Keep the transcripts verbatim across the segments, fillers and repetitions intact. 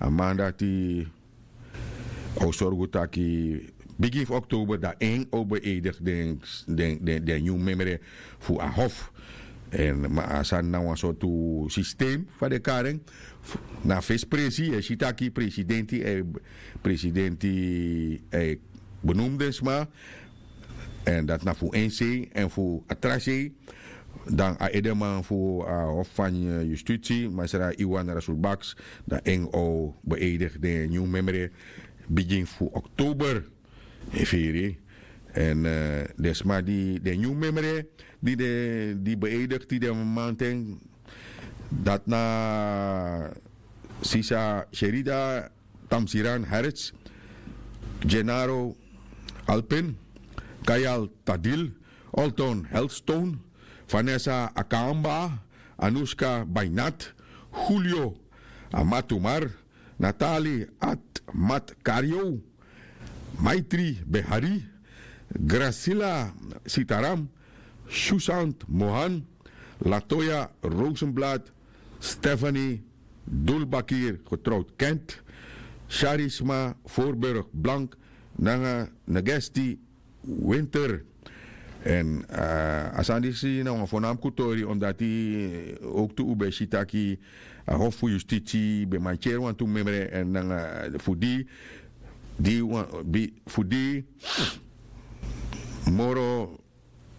A man dati a o sorgu taki bigin fu oktober dan en o beeidigi den den den nyun memre fu a hof. Èn ma a sani na wan sortu sistem fa den kari en. Na fesi presi e si taki presidenti e presidenti e benumde sma. Èn dati na fu en sei èn fu a tra sei. Dan a edeman fu a hof fan yustiti masra iwan rasulbaks dan en o beeidigi den nyun memre bigin fu oktober. Yu firi? Èn den sma di den nyun memre di den di beeidigi di den manten dati na sisa sherida tamsiran harris, genaro alpin, kayal tadil, olton helstone, vanessa akamba, anuska bainat, julio amatumar, natali atmatkario, maitri behari, gracila sitaram, shusant mohan, latoya rosenblad, stephanie dulbakir getrouwd kent, charisma voorburg blank, nanga negesti winter. Èn a sani disi na wan fonamku tori omdati owktu un ben si taki a hof fu yustiti ben mantyeri wantu memre èn nanga fu di di wan bi fu di moro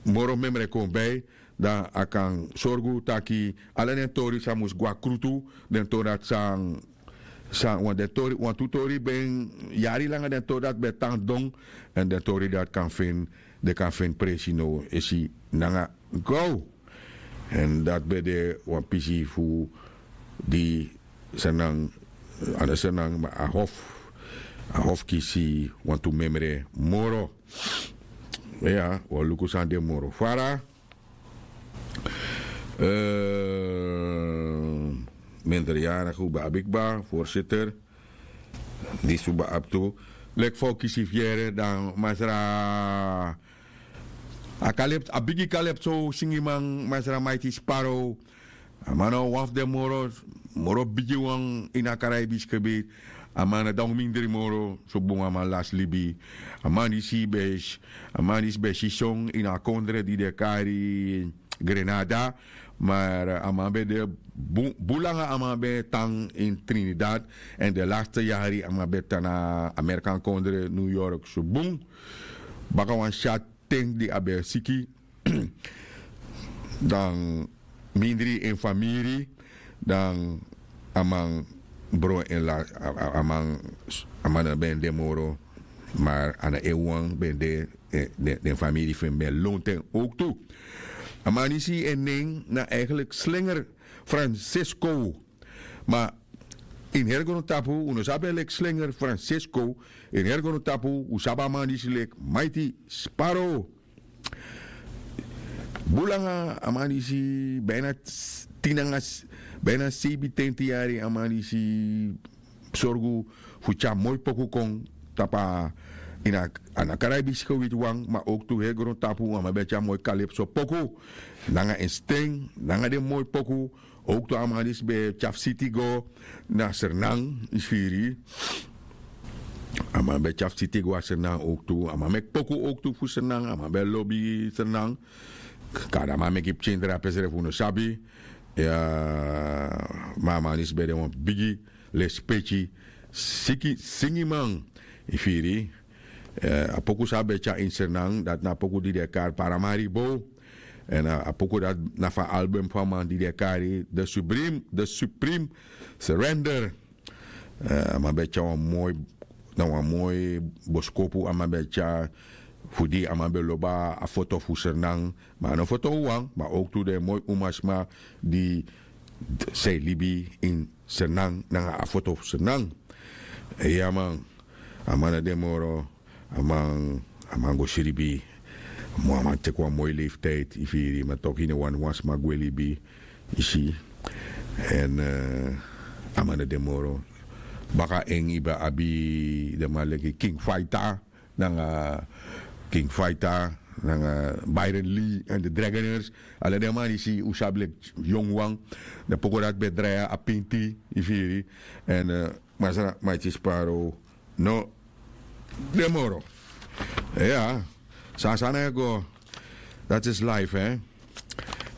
moro memre kon bai, dan a kan sorgu taki ala den tori san mus go na krutu. Den tori dati san san wan den tori wantu tori ben yari langa den tori dati ben tan don. Èn den tori dati kan feni den kan feni presi now esi nanga go. Èn dati ben de wan pisi fu di senan anda senan ma a hof a hof kisi wantu memre moro. Ya wan luku san de moro fara. Minderjarige un ben abi kba voorzitter. Disi un ben abi tu leki fa un kisi fu yere dan masra a kalep a bigi kalep so singiman masra maiti sparo. A man na wan fu den moro moro bigi wan ini a karaibiski gebied. A man na dan un mindri moro so bun a man lasi libi. A man disi ben a man disi ben si son ini a kondre di den kari grenada. Mar a man ben de bun langa a man ben tan ini trinidad. Èn den laste yari a man ben tan na amerikan kondre new york so bun. Baka wan syat ten di a ben siki dan mindri en famiri dan a man bron en la a man a man na ben de moro. Mar a na en wan ben de den famiri fu en ben lontu en owktu. A man disi en nen na eigenlik slinger francisco. Ma ini heri grontapu un no sabi en leki slinger francisco. Ini heri grontapu un sabi a man disi leki maiti sparo. Bun langa a man disi bina tin nanga bina seibintenti yari a man disi sorgu fu tyari moi poku kon tapu a ini a na karaibiski witi wan ma owktu heri grontapu a man ben tyari moi kalipso poku nanga en sten nanga den moi poku. Owktu a man disi ben tyari fu siti go na sernan yu si firi. A man ben tyari fu siti go na sernan owktu a man meki poku owktu fu sernan a man ben lobi sernan. Kari a man meki pikin drape srefi un no sabi. Ma a man disi ben de wan bigi lespeki singiman. Yu firi. A poku san a ben tyari ini sernan dati na a poku di den e kari paramari bow. Èn a poku dati na fu a album fu a man di den e kari the supreme the supreme surrender. A man ben e tyari wan moi na wan moi boskopu a man ben e tyari fu di a man ben lobi a foto fu sernan. Ma a no foto wawan ma owktu den moi umasma di san e libi ini sernan nanga a foto fu sernan. Iya man. A man na de moro a man a man go sribi. Mo a man teki wan moi leftijdi yu firi ma toki ini wani wan sma gwe libi. Yu si. Èn a man na de moro baka en yu ben abi den man leki king faita nanga king faita. nanga Byron Lee en de Dragoners. Ala den man disi un sabi leki yongu wan. Den poko dati ben drai a pinti, yu firi. En masra Maiti Sparrow no de moro. Ya, san sani e go. Dati is life, hè.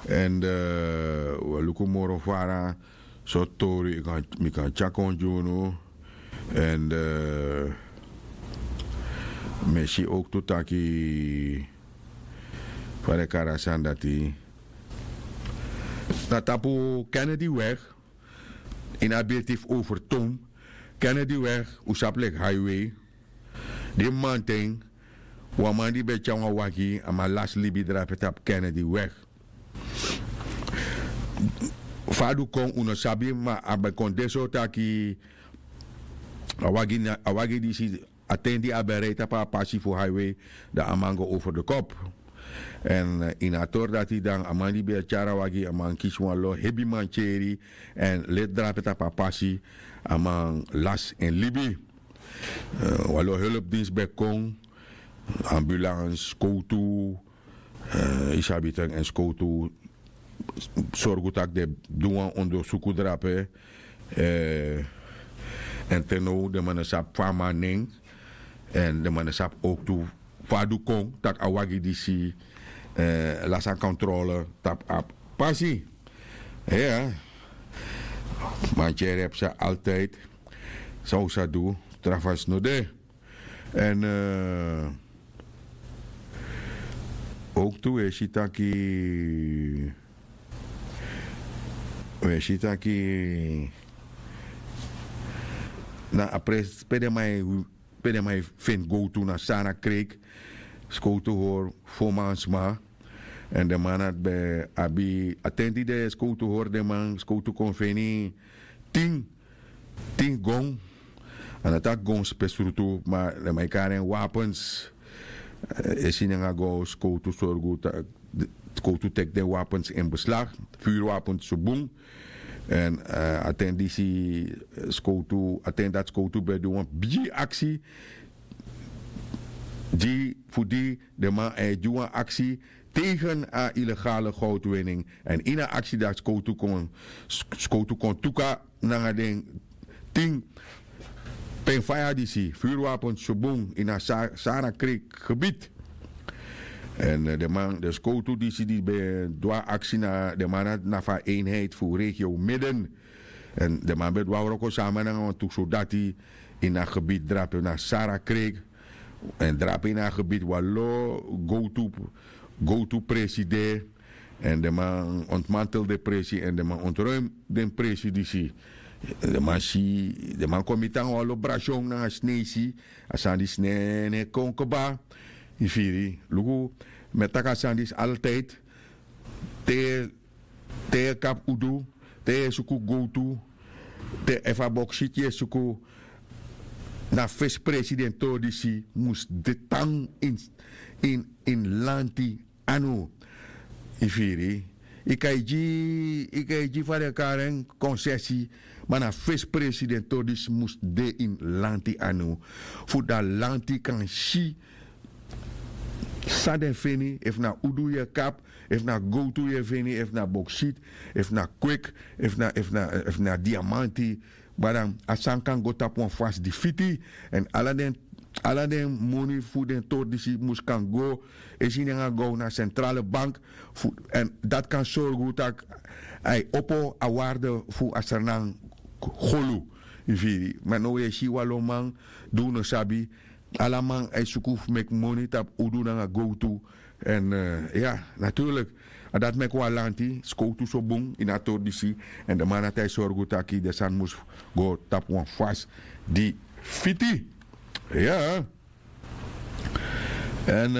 En we luku moro fara. So tori mi kan tyari kon gi unu. En mi e si owktu taki fa den kari a sani dati, na tapu Kennedy weg, ini a birti fu Overtoom, Kennedy weg, un sabi leki highway. Di mamanten wan man di ben tyari wan wagi, a man lasi libi drape tapu Kennedy weg. Fa a du kon un no sabi, ma a ben kon de so taki a wagi disi, a ten di a ben rei tapu a pasi fu highway, dan a man go over de kop. En ini a tori dati dan a man di ben e tyari a wagi, a man kisi wan lo hebi mantyeri, en leti drape tapu a pasi, a man lasi en libi. Wan lo helpdinsi ben kon, ambulans, skowtu, yu sabi ten, en skowtu sorgu tak' den du wan ondersuku drape. En te now den man no sabi fa a man nen, en den man no sabi owktu fa a du kon tak' a wagi disi lasi a kontrole tapu a pasi. Mantyeri e psa altijdi. San un sa du, tra fasi no de. En owktu un e si taki, un e si taki na a presi pe den man e feni gowtu na Sara Kreek, skowtu hori fo man sma. En den man dati ben abi a ten di den skowtu hori den man, skowtu kon feni tin tin gon. A no taki gon spesrutu, ma den man e kari en wapens. E si nanga go skowtu sorgu, skowtu teki den wapens in beslag, vuurwapens so bun. En a ten disi skowtu, a ten dati skowtu ben du wan bigi aksi gi fu di den man e gi wan aksi tegen a ilegale goudwinning. En ini a aksi dati skowtu kon tuka nanga den tin pen faya disi, vuurwapens so bun ini a Sara Kreek gebied. En den man, den skowtu disi di ben du a aksi na den man dati na fu a eenheid fu regio midden. En den man ben du a wroko sama nanga wantu sodati ini a gebied drape na Sara Kreek. En drape ini a gebied wan lo gowtu, gowtu presi de. En den man ontmantel den presi en den man ontruim den presi disi. Den man si, den man kon miti nanga wan lo brasion nanga sneisi. A sani disi no e kon kba. Yu firi, luku, mi e taki a sani disi altijdi. Te te yu e kapu udu, te yu e suku gowtu, te efu a boksiti yu e suku, na fesi presi den tori disi mus de tan ini ini lanti anu. Yu firi, yu kan e gi yu kan e gi fa den kari en konsesi, ma na fesi presi den tori disi mus de ini lanti anu, fu dan lanti kan si san den feni, efu na udu yu e kapu, efu na gowtu yu e feni, efu na boksiti, efu na kweki, efu na efu na efu na diamanti. Ma dan a sani kan go tapu wan fasi di fiti. Èn ala den ala den moni fu den tori disi mus kan go e si nanga go na sentrale bank, fu èn dati kan sorgu tak' a e opo a warde fu a sranan golu. Yu firi, ma now yu e si wan lo man di un no sabi. Ala man e suku fu meki moni tapu udu nanga gowtu. Èn ya, naturlik, a dati meki wan lanti skowtu so bun ini a tori disi. Èn den man dati e sorgu tak' den sani mus go tapu wan fasi di fiti. Ya. Èn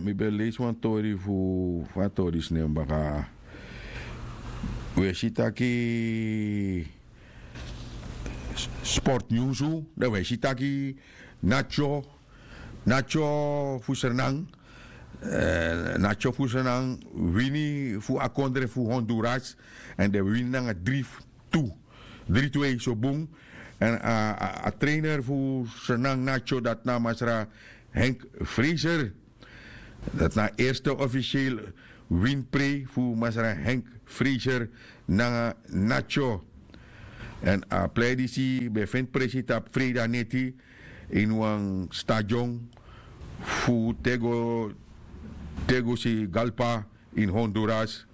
mi ben leisi wan tori fu fa a tori disi nen baka. Un e si taki sport nyunsu, dan un e si taki natyo natyo fu sranan natyo fu sranan wini fu a kondre fu honduras. Èn den wini nanga dri tu, dri tu e so bun. Èn a trainer fu sranan natyo dati na masra henk freser. Dati na a eerste officieel winprei fu masra Henk Fraser nanga Nacho. Èn a plei disi ben feni presi tapu freida neti ini wan stadion fu Tego, Tegucigalpa ini Honduras.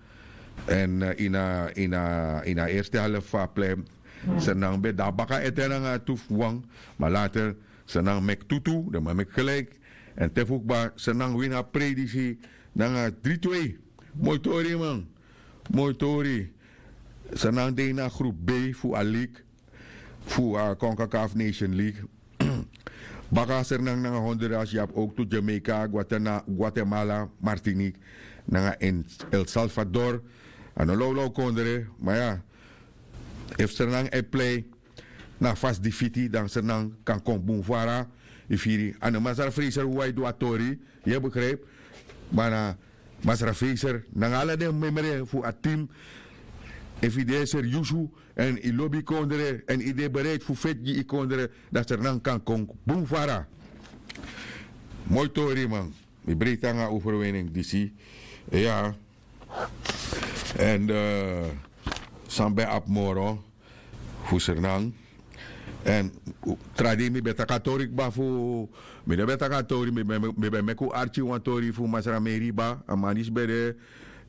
Èn ini a, ini a, ini a eerste helft fu a plei Sernang ben de na baka ete nanga tu fu wan, ma later Sernang meki tu tu, den man meki gelijk. Èn te fu kba Sernang wini a prei disi nanga dri twee. Moi tori man. Moi tori. Sernang de ini a group B fu a league, fu a Concacaf Nation League. Baka Sernang nanga Honduras, yu abi owktu Jamaica, Guatena-, Guatemala, Martinique nanga El Salvador. A no lawlaw kondre, ma ya, efu Sernang e plei na a fasi di fiti, dan Sernang kan kon bun fara. Yu firi, a no Masra Fraser wawan e du a tori, yu e begrijpi. Ma na Masra Fraser nanga ala den memre fu a tim, efu yu de seriusu èn yu lobi yu kondre èn yu de bereid fu feti gi yu kondre, dan Sernang kan kon bun fara. Moi tori man. Mi breiti nanga overwinning disi. Ya. Èn san ben abi moro fu Sernang. Èn tra dei mi ben taki a tori kba fu, mi no ben taki a tori, mi ben, mi ben meki un arki wan tori fu Masra Meriba, a man disi ben de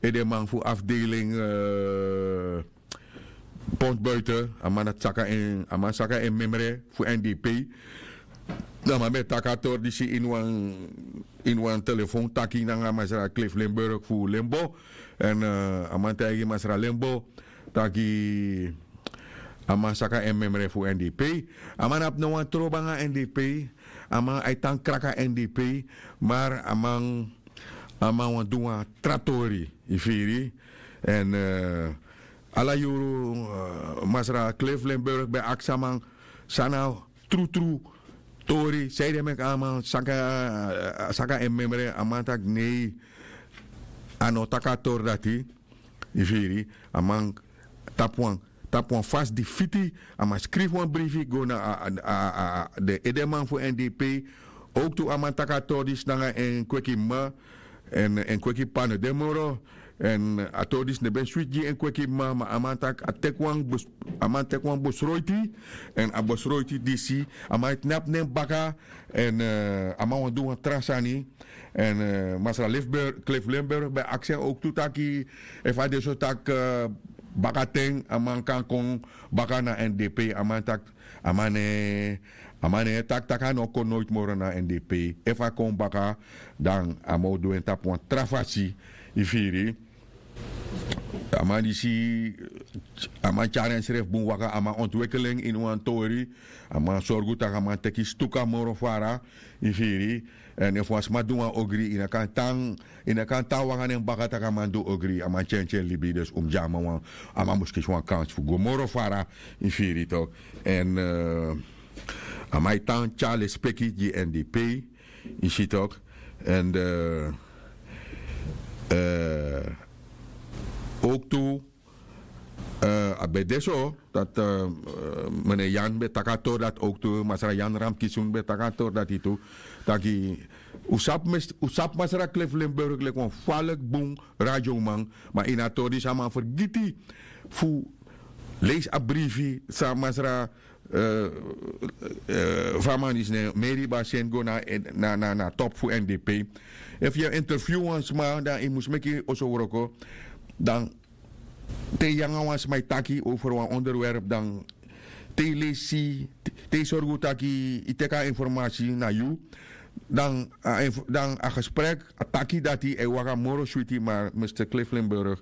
edeman fu afdeling, eh, Pont Buiten, a man dati saka en, a man saka en memre fu N D P. Dan a man ben taki a tori disi ini wan, ini wan telefon taki nanga Masra Cliff Limburg fu Limbo. Èn, eh, a man taigi Masra Limbo taki a man saka en memre fu N D P. A man abi no wan trobi nanga N D P. A man e tan kraka N D P. Ma a man, a man wani du wan tra tori, yu firi. Èn, eh, ala yuru, eh, Masra Cliff Limburg ben aksi a man san na trutru tori, sanede meki a man saka, eh, saka en memre. A man taki nei, a no taki a tori dati. Yu firi, a man tapu wan, tapu wan fasi di fiti, a man skrifi wan brifi go na a, a, a, a, den edeman fu N D P. Owktu a man taki a tori disi nanga en kweki mama, èn en kweki p'pa no de moro. Èn a tori disi no ben switi gi en kweki mama, ma a man taki a teki wan bes-, a man teki wan besroiti. Èn a besroiti disi, a man e tnapu na en baka. Èn, eh, a man wani du wan tra sani. Èn, eh, Masra Cliff Limburg ben aksi en owktu taki efu a de so taki, eh, bakaten a man kan kon baka na N D P. A man taki, a man no e, a man no e taki taki a no o kon noiti moro na N D P. Efu a kon baka, dan a man o du en tapu wan tra fasi, yu firi. A man disi, a man tyari ensrefi bun waka, a man ontwikkel en ini wan tori. A man sorgu taki a man teki stuka moro fara, yu firi. Èn efu wan sma du wan ogri, yu no kan tan, yu no kan tan waka na en baka taki a man du ogri. A man tyentyen libi, dus un mus gi a man wan, a man mus kisi wan kansi fu go moro fara, yu firi tok. Èn, eh, a man e tan tyari lespeki gi N D P, yu si tok. Èn, eh, eh, owktu, eh, a ben de so dati, eh, eh, meneer Jan ben taki a tori dati owktu, Masra Jan Ramkisun ben taki a tori dati tu. Taki, un sabi mes-, un sabi Masra Cliff Limburg leki wan falek bun radioman, ma ini a tori disi a man fergiti fu leisi a brifi san Masra, eh, eh, fa a man disi nen, Meriba seni go na, na, na, na top fu N D P. Efu yu e interview wan sma, dan yu mus meki oso wroko. Dan te yu nanga wan sma e taki over wan onderwerp, dan te yu leisi, te yu sorgu taki yu teki a informasi na yu, dan a inf-, dan a gesprek, a taki dati e waka moro switi. Ma Mister Cliff Limburg,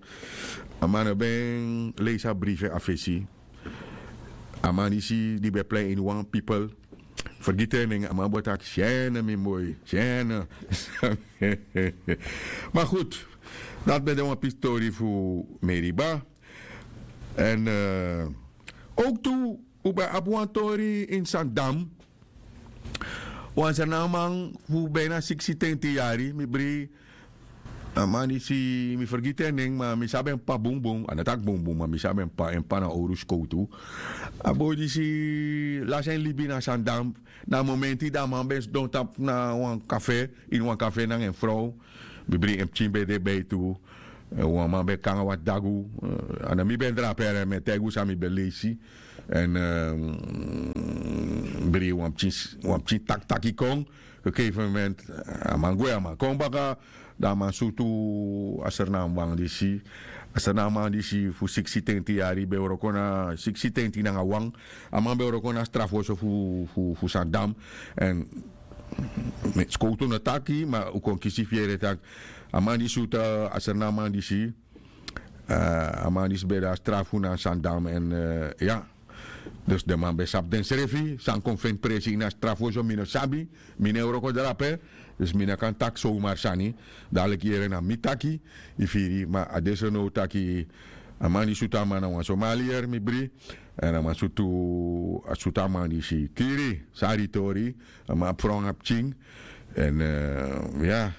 a man no ben leisi a brifi a fesi. A man disi di ben plei ini wan pipel, fergiti en nen, a man bo taki, Sene, mi moi, Sene. Ma goed, dati ben de wan pisi tori fu Meriba. Èn, eh, owktu un ben abi wan tori ini Sandam. Wan Sranan man fu bina siksi tenti yari, mi bri. A man disi, mi fergiti en nen, ma mi sabi en p'pa bunbun. A no taki bunbun, ma mi sabi en p'pa, en p'pa na owru skowtu. A boi disi lasi en libi na Sandam. Na a momenti di a man ben sidon tapu na wan kafe, ini wan kafe nanga en frow. Mi bri en pikin ben de bei tu. Wan man ben kon nanga wan dagu. A no mi ben drape, mi e taigi un san mi ben leisi. Èn bri wan pikin takitaki kon. Gegeven moment a man gwe, a man kon baka. Dan a man sutu a srnaman disi. A srnaman disi fu siksi tenti yari ben wroko na siksi tenti nanga wan. A man ben wroko na strafoso fu sandam. Èn skowtu no taki ma un kon kisi fiere tak' a man di sutu a srnaman disi, a man disi ben de a strafu na sandam èn ya. Dus den man ben sabi densrefi san kon feni presi ini a strafu oso mi no sabi. Mi no e wroko drape. Dus mi no kan taki somar sani. Daliki yere na mi taki. Yu firi ma a de so now taki a man di sutu a man na wan somalier mi bri. Èn a man sutu a sutu a man disi kiri. Sari tori. A man abi fron a pikin. Èn ya,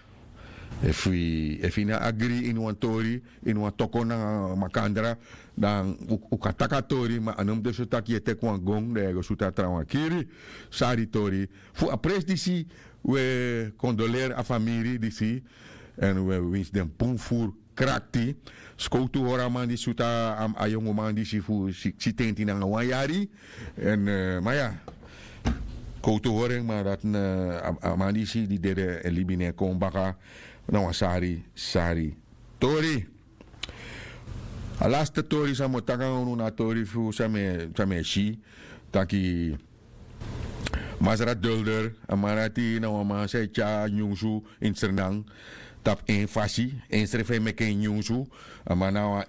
efu yu no agri ini wan tori, ini wan toko nanga makandra, dan un kan taki a tori ma a no mus de so tak' yu e teki wan gon dan yu e go sutu a trawan kiri. Sari tori. Fu a presi disi, un e kondoleri a famiri disi. Èn un e winsi den bun furu krakti. Skowtu hori a man di sutu a yongoman disi fu siksi tenti nanga wan yari. Èn ma ya, skowtu hori en ma dati na a man disi di dede e libi ne kon baka. Na wan sari sari tori. A laste tori san mi o taki nanga unu na a tori fu san mi e si taki masra dulder a man dati na wan man san e tyari nyunsu ini srnan. Tapu en fasi ensrefi e meki en nyunsu. A man na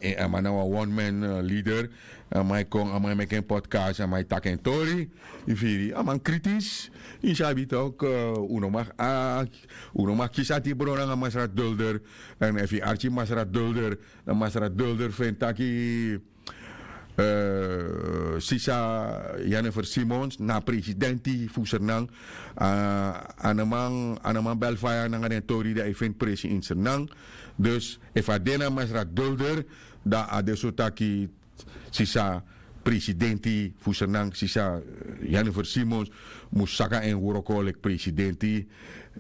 wan one man leader. A man e kon a man e meki en podcast a man e taki en tori. Yu firi a man kritis. Yu sabi toki un no mag aki un no mag kisi ati bron nanga masra dulder. Èn efu yu arki masra dulder dan masra dulder feni taki sisa jennifer simons na a presidenti fu sernan. A no man bel faya nanga den tori di a e feni presi ini sernan. Dus efu a de na masra dulder dan a de so taki sisa presidenti fu sernan sisa jennifer simons mus saka en wroko leki presidenti.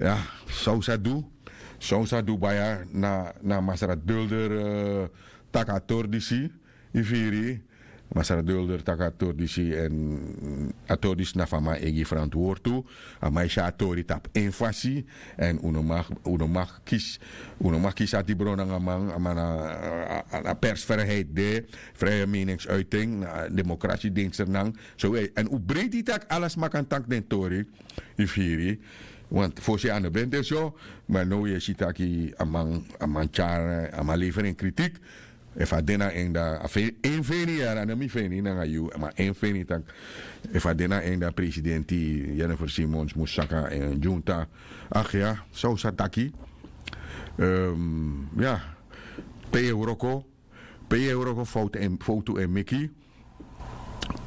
Ya, san un sa du? San un sa du baya na masra dulder taki a tori disi? Yu firi masra dulder taki a tori disi èn a tori disi na fu a man e gi frantwortu. A man e si a tori tapu en fasi. Èn un no mag kisi un no mag kisi ati bron nanga man a man na persfriheit de. Frie meningsuiting na demokrasi denki sernan. So èn un breiti tak' ala sma kan taki den tori. Yu firi want fosi a no ben de so. Ma now yu e si taki a man tyari a man leferi en kritik. Efu a de na en dan a feni en feni yara no mi feni nanga yu ma en feni taki efu a de na en dan presidenti jennifer simons mus saka en junta. Ach ya, san un sa taki? Ya, pe yu e wroko pe yu e wroko fowtu e meki.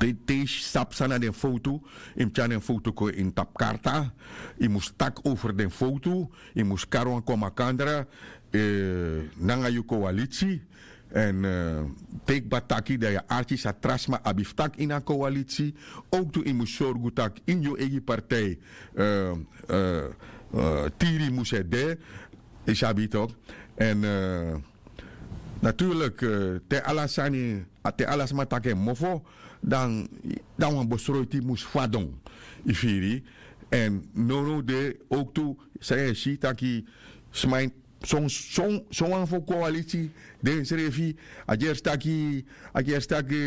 Te yu sabi san na den fowtu yu mus tyari den fowtu kon ini tapu karta. Yu mus taki over den fowtu. Yu mus kari wan kon makandra nanga yu kowalitsi. Èn te yu kba taki dan yu arki san tra sma abi fu taki ini a kowalitsi. Owktu yu mus sorgu tak' ini yu eigi partij tiri mus e de. Yu sabi tok'? Èn naturlik te ala sani te ala sma taki en mofo dan wan besroiti mus fadon. Yu firi? Èn nownow de owktu san yu e si taki sma ini son wan fu kowaliti den srefi a gersi taki a gersi taki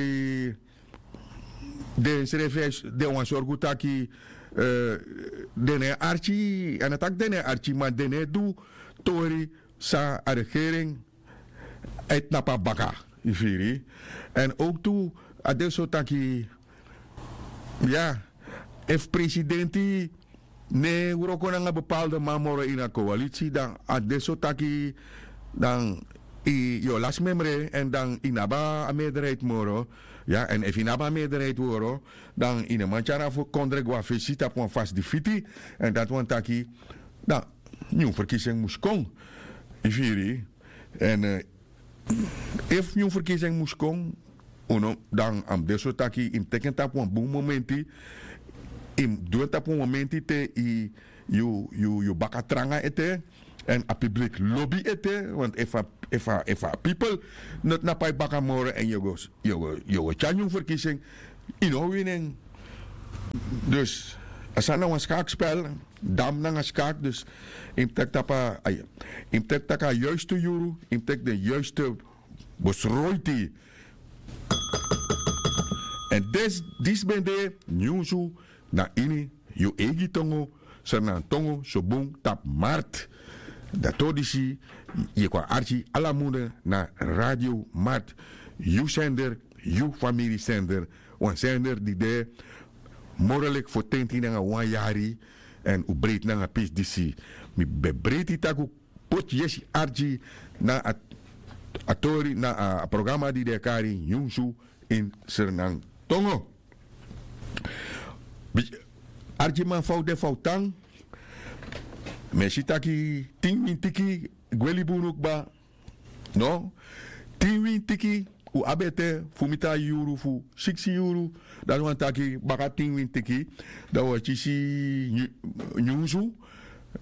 den srefi den wani sorgu taki den no e arki a no taki den no e arki ma den no e du tori san a regering e tnapu na baka. Yu firi? Èn owktu a de so taki ya efu presidenti no e wroko nanga bepalde man moro ini a kowaliti dan a de so taki dan yu o lasi memre èn dan yu no abi a meerderheid moro. Ya èn efu yu no abi a meerderheid moro dan yu no man tyari a fu kondre go na fesi tapu wan fasi di fiti. Èn dati wani taki dan nyun ferkisi en mus kon. Yu firi? Èn efu nyun ferkisi en mus kon dan a mus de so taki yu mus teki en tapu wan bun momenti. Yu mus du en tapu wan momenti te yu yu baka tranga ete. Èn a piblik lobi ete, want efu a efu a efu a pipel no tnapu a yu baka moro èn yu o go yu o go tyari nyun ferkisi en, yu no o wini en. Dus a sani na wan skakspel. Dam nanga skak dus yu mus teki tapu a yu mus teki tak' a yuiste yuru yu mus teki den yuiste besroiti. Èn disi ben de nyunsu na ini yu eigi tongo, sernantongo sobun tapu mart. Dati o disi yu e kon arki ala munde na radio mart. Yu sender, yu famiri sender, wan sender di de moro leki fotenti nanga wan yari. Èn un breiti nanga pisi disi. Mi ben breiti tak' un poti yesi arki na a tori na a programa di den e kari nyunsu ini sernantongo. Arkiman fa un de fa un tan? Mi e si taki tin wintiki gwe libi unu kba. No, tin wintiki un abi ete fu miti a yuru fu siksi yuru. Dati wani taki baka tin wintiki dan un e kisi nyunsu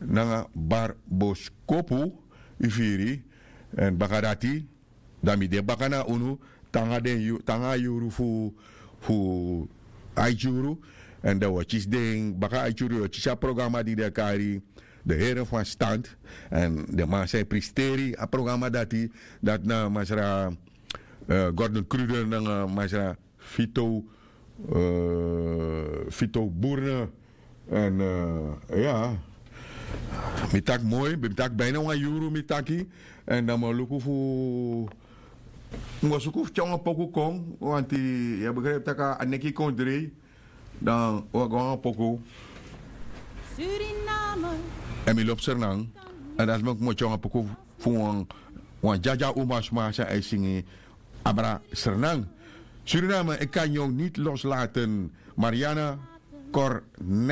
nanga barboskopu. Yu firi? Èn baka dati dan mi de baka na unu te nanga den yu te nanga a yuru fu fu aiti yuru. Èn dan un o kisi den baka aiti yuru yu o kisi a programa di den e kari de here fu a stand. Èn den man san e pristeri a programa dati dati na masra gordon kruder nanga masra fito fito burne. Èn ya mi taki moi mi taki bina wan yuru mi taki. Èn dan mi o luku fu mi go suku fu tyari wan poku kon wanti yu e begripi tak' a neki kon drei. Dan wi e go nanga poku èn mi lobi sernan. Èn dati meki mi o tyari wan poku fu wan wan dyadya uma sma san e singi abra sernan. Suriname e kan nyon niti loslaten. Mariana korne